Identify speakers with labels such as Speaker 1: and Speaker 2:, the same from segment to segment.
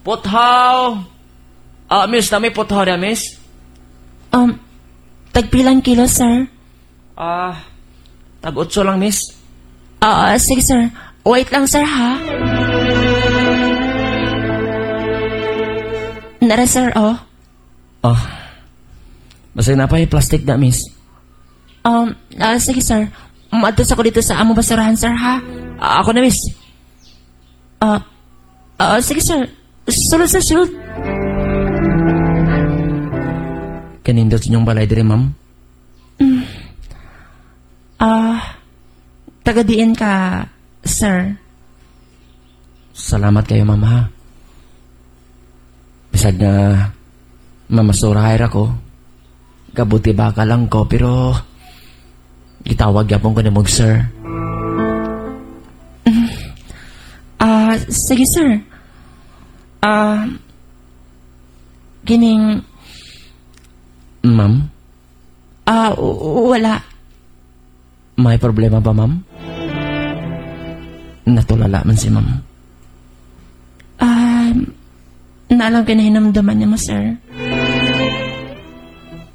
Speaker 1: Puthaw! Ah, miss, nami puthaw na, miss?
Speaker 2: Tagpilang kilo, sir?
Speaker 1: Ah, tag-otso lang, miss.
Speaker 2: Ah, sige, sir. Wait lang, sir, ha? Nara, sir, oh.
Speaker 1: Oh. Basta na pa yung plastic na, miss.
Speaker 2: Sige, sir. Maadto sa ko dito sa amo basurahan, sir, ha?
Speaker 1: Ah, ako na, miss.
Speaker 2: Ah, sige, sir. Sulod, sir, sulod.
Speaker 1: Kanindot sa inyong balay dire, ma'am.
Speaker 2: Ah, taga-diin ka, sir.
Speaker 1: Salamat kayo, ma'am, ha. Bisag na mamasurahay ra ko. Kabuti baka lang ko, pero gitawag yapon ko na mong sir.
Speaker 2: Ah, sige, sir. Ah, gining,
Speaker 1: Ma'am,
Speaker 2: ah, wala.
Speaker 1: May problema ba, ma'am? Natulala man si ma'am.
Speaker 2: Ah, naalam ka na hinamdaman niya mo, sir.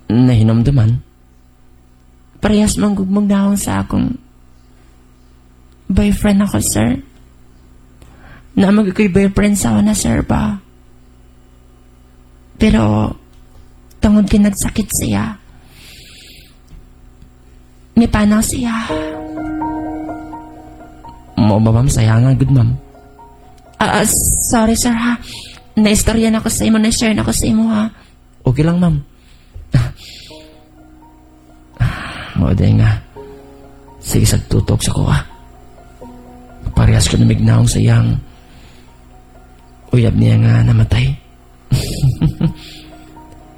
Speaker 1: Nahinomduman?
Speaker 2: Parehas mong gugmog dahon sa akong boyfriend ako, sir. Na mag ako'y boyfriend sa na, sir, ba? Pero, tungod kay nagsakit siya, nipanaw siya.
Speaker 1: Mo ba, ma'am? Sayang nga, good, ma'am.
Speaker 2: Ah, sorry, sir, ha? Naistorya na ako sa imo, na-share na ako sa imo, ha?
Speaker 1: Okay lang, ma'am. Mo nga. Sige, sagtutok sa kuha. Parehas ko namignaong sa iyang uyab niya nga namatay.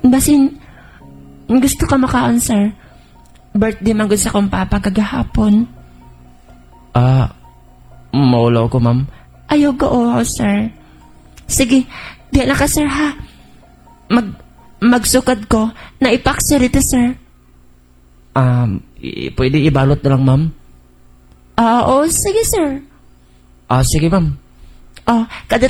Speaker 2: Basin, gusto ka makaon, sir. Birthday man gud sa akong papa kagahapon.
Speaker 1: Ah, maulaw ko, ma'am.
Speaker 2: Ayaw ko, oo, sir. Sige, di na ka, sir, ha? Magsukad ko. Naipak, sir, ito, sir.
Speaker 1: Pwede ibalot na lang, ma'am.
Speaker 2: Ah, oo, sige, sir.
Speaker 1: Ah, sige, ma'am.
Speaker 2: Oh, kada